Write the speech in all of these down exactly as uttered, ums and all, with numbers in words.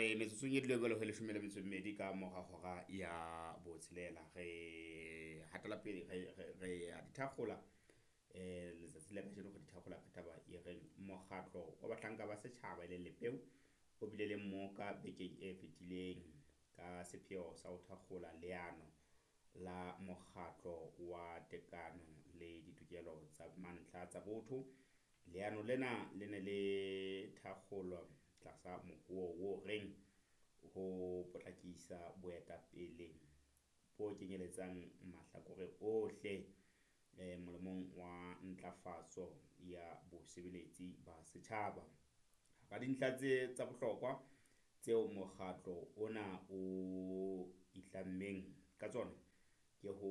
Re metsotsong e dule jwalo ho leshome le metso e mmedi ka mora hora ya botshelela. Re hatela pele re re re a di thakgola eh letsatsi la kajeno, re di thakgola ka taba e reng mokgatlo wa bahlanka ba setjhaba e leng Lepeu o bile le mmoka bekeng e fetileng ka sepheo sa ho thakgola leano la mokgatlo wa tekano le ditokelo tsa mantlha tsa botho. Leano lena le ne le thakgolwa tlasa mohuo o reng ho potlakisa boetapele bo kenyeletsang mahlakore ohle eh molemong wa ntlafatso ya bosebeletsi ba setjhaba. Hara dintlha tse tsa bohlokwa tseo mokgatlo ona o itlammeng ka tsona ke ho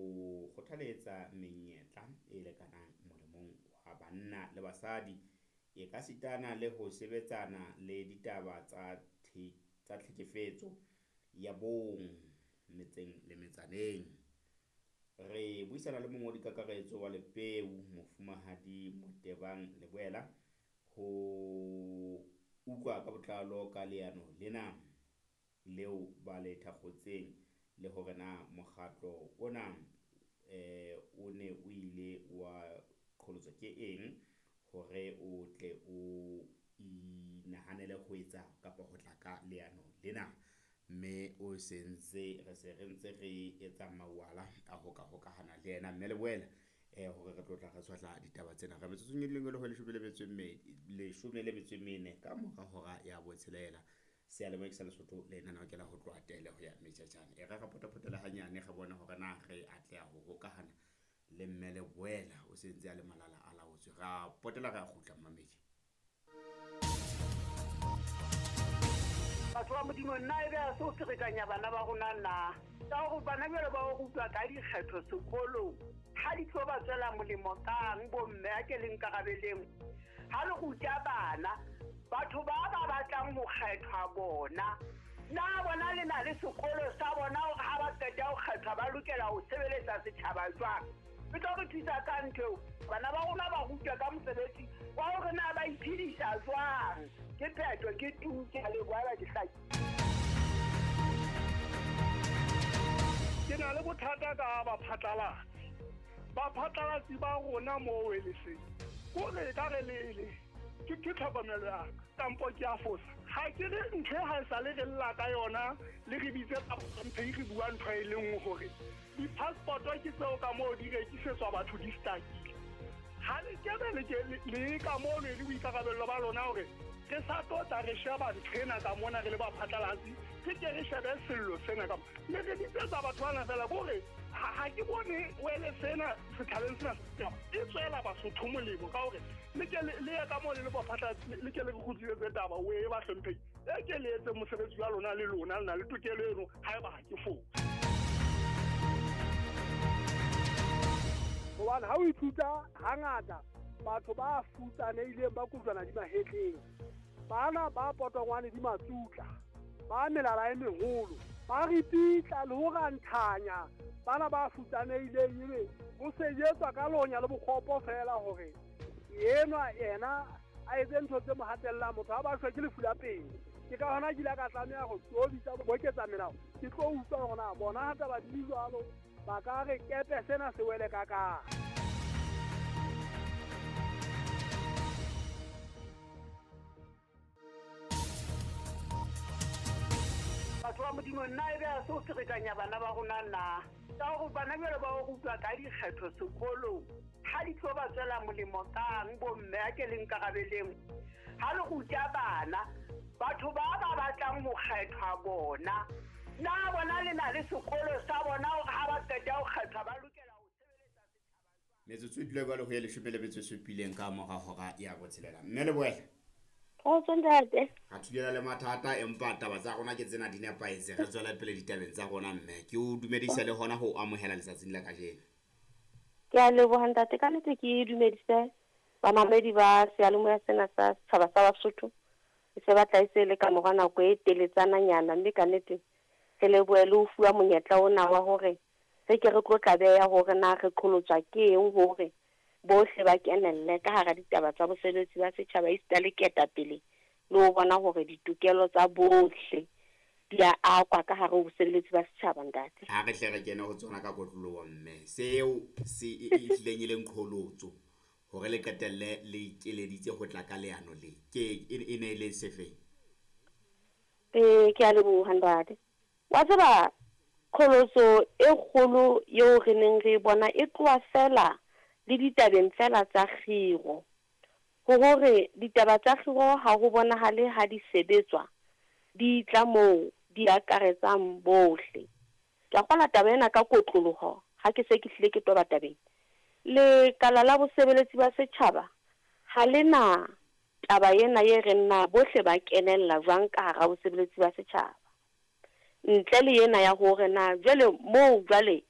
kgothaletsa menyetla e lekanang molemong wa banna le basadi, e ka sitana le ho sebetsana le ditaba tsa the tsa tlhekefetso ya bong metseng le metsaneng. Re buisana le mongodi kakaretso wa Lepeu, Mofumahadi Motebang Leboela, ho utlwa ka botlalo ka leano lena leo ba le thakgotseng le hore na mokgatlo ona eh o ne o ile wa qholotswa ke eng hore o tle o inahanele ho etsa kapa ho tla ka leano lena. Mme o sentse re se re ntse re etsa mawala a ho ka hokahana le yena mme Leboela eh hore re tlo tla re tshwahla ditaba tsena. Re metsotsong e leng ho leshome le metso e mmedi, leshome le metso e mene ka mora hora ya botshelela. Seyalemoya ke sa Lesotho le lenaneo ke la ho tloha tele ho ya Mejajane. E re re potapotela hanyane re bone hore na re atleha ho hokahana le mme Leboela o sentse a le malala a laotswe. Ra potela re a kgutla mmamedi. Batho ba Modimo, nna ebe a se o ferekanya bana ba rona na? Ka hore bana jwale ba o rutwa ka dikgetho sekolong, ha di tlo ba tswela molemo kang bomme a ke le nkarabeleng? Ha le ruta bana, batho ba ba batlang ho kgethwa bona, na bona le na le sekolo sa bona hore ha ba qeta ho kgethwa ba lokela ho sebeletsa setjhaba jwang? E tlo re thusa ka ntho eo. Bana ba rona ba rutwa ka mosebetsi wa hore na ba iphedisa jwang. Ke phetho, ke tu, ke a leboha ba ke hlaki. Ke na le bothata ka baphatlalatsi. Baphatlalatsi ba rona moo e le seng. Kore e ka re le le ke ke tlhokomelo ya ka, kampo ke a fosa. Ha ke re ntho e ha e sale re lla ka yona, le re bitse mphe re bua ntho e le nngwe hore di-passport-o ke tseo ka moo di rekisetswa batho di stakile. Ha le kebe le ke le ka moo le le boikarabello ba lona hore re sa tlo tla re sheba ntho ena ka mona re le baphatlalatsi, re ke re shebe sello sena ka mona. Mme re bitsetsa batho bana fela kore ha ha ke bone wele sena setjhabeng sena e tswela Basotho molemo ka hore le ke le le ye ka moo le le baphatlalatsi, le ke le re kgutlisetse taba o e ba hlomphehi. E ke le etse mosebetsi wa lona le lona le na le tokelo eno haeba ha ke fose. Hobane ha o ithuta hangata batho ba futsanehileng ba kojwana di mahetleng, bana ba potongwane di matsutla, ba melala e meholo, ba ripitla le ho ranthanya bana ba futsanehileng, ebe ho sejetswa ka lonya le bokgopo fela hore enwa yena a etse ntho tse mo hatellang motho ha ba shwe ke lefu la pele. Ke ka hona ke ile ka tlameha ho tlo bitsa boketsa melao, ke tlo utlwa hore na bona ha taba di jwalo ba ka re kepe sena se wele ka kae. Batho ba Modimo, nna ebe a se o ferekanya bana ba rona na? Ka hore bana jwale ba o rutwa ka dikgetho sekolong, ha di tlo ba tswela molemo kang bomme a ke le nkarabeleng? Ha le ruta bana, batho ba ba batlang ho kgethwa bona, na bona le na le sekolo sa bona hore ha ba qeta ho kgethwa ba lokela ho sebeletsa setjhaba jwang? Metsotso e dule jwalo ho ya leshome le metso e supileng ka mora hora ya botshelela. Mme Leboela. Kgotso ntate. Ra thulana le mathata empa taba tsa rona ke tsena di nepahetse. Re tswela pele ditabeng tsa rona mme. Ke o dumedisa le hona ho amohela letsatsing la kajeno. Ke a leboha ntate, ka nnete ke dumedise bamamedi ba seyalemoya sena sa setjhaba sa Basotho. E se batla e se le ka mora nako e teletsananyana, mme ka nnete re lebohe le ho fuwa monyetla ona wa hore re ke re tlo tla beha hore na re qholotswa ke eng hore bohle ba kenelle ka hara ditaba tsa bosebetsi ba setjhaba esita le ketapele le ho bona hore ditokelo tsa bohle di a akwa ka hare ho bosebeletsi ba setjhaba ntate. Ha re hle re kene ho tsona ka kotloloho mme seo se e e hlileng e leng qholotso hore le qetelle le ikeleditse ho tla ka leano le ke e e ne e le sefeng? Ee, ke a leboha ntate. Wa tseba qholotso e kgolo eo re neng re e bona e tloha fela le ditabeng fela tsa kgiro. Ho hore ditaba tsa kgiro ha ho bonahale ha di sebetswa, di tla moo di akaretsang bohle. Ke a kgolwa taba ena ka kotloloho ha ke se ke hlile ke toba tabeng. Lekala la bosebeletsi ba setjhaba ha le na taba ena e reng na bohle ba kenella jwang ka hara bosebeletsi ba setjhaba. Ntle le ena ya hore na jwale moo jwale